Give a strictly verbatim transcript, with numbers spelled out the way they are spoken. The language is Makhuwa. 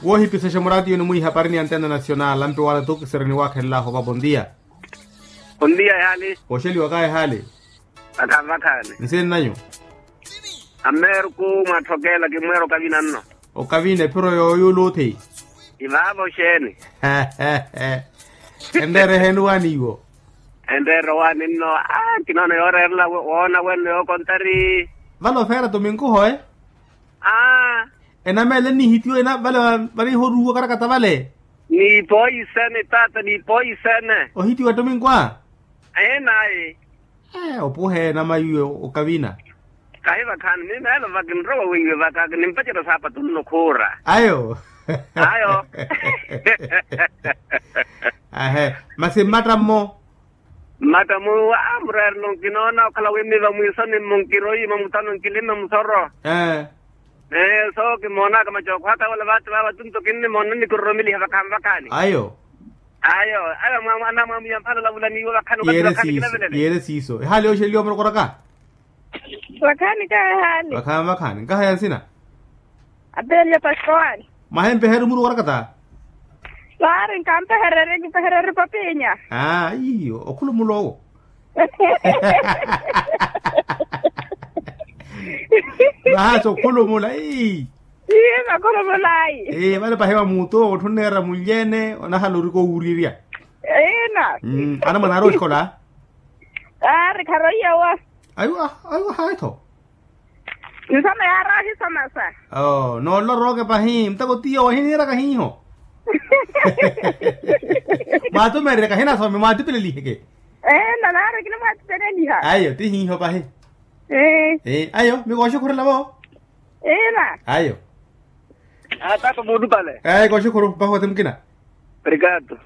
Woohipisexa muraatiyo ni mwiihaparini ya antena nacional ampe wala tuukiseri niwaakhenlaahu opa bondia. Bondia ehaali. Oxeliwaka ehaali. Vakhaani vakhaani. Nsinnanyu. Ameerku mwaatthokela kimweera okavina nno. Okavina ephiro yooyuula othi. Ivaavo xeeni. Enreera eheeni waani iwo. Enreera owaani nno. Kinoona yooreerela woona wenno yookontari. Vale ofeera tominku hoe. Enameela ennihitiwa ena vale. Varihoruwa okarakata vale. Niipoisene taata niipoisene. Ohitiwa tominku a. Enayi. Opuhe enama iwe okavina. Kahi vakhaani mimeelo vakinrowa weiwe vaka kinimpacerya saapatu nno khuura. Ayo. Ayo. Ahe. Masi mmatta mmo. Mmatta muwa a mureerelo nkinoona okhala wi mmiva mwiisoni mmo nkiroyi mamutano nkilime musoro. Ee. Ee so kimoonaka macookho aka wala vaati vaava tunto kinnimoona nnikuroromeliha vakhaani vakhaani. Ayo. Ayo. Ayo. Anamwamwiya mphala olavula niiwo vakhaani okathi vakhaani kinavelele. Yeere siiso ehaali yooxeliwa murokoraka. Vakhaani kaha ehaali. Vakhaani vakhaani nkaha ya nsina. Apeelya paskowaani. Mwahempeherya omuruku orakata. Vaari nkampehererye kipehererye papinya. Aa iyo okhulumula owo. Vahaasi okhulumula ii. Ii vakhulumulayi. Ii vale pahi va muutu owo otthu onneera munlyeene onahala orika owuurirya. Ina. Anamwane aari oxikola. Aari kharoiya wa. Aiwa aiwa hayi-tho. Nsoma yaari ohisoma sa. Noololo rooke pahi muteko tiyo wahiniiraka hiiho. Mwaatumererye kahinasome mwaatipeleliheke. Eena naari kinimwaatipeleliha. Ayo ti hiiho pahi. Ayo mikooxukhurela vo. Ayo. Taata muulupale. Kooxukhuru pahi wati mukina. Obrigado.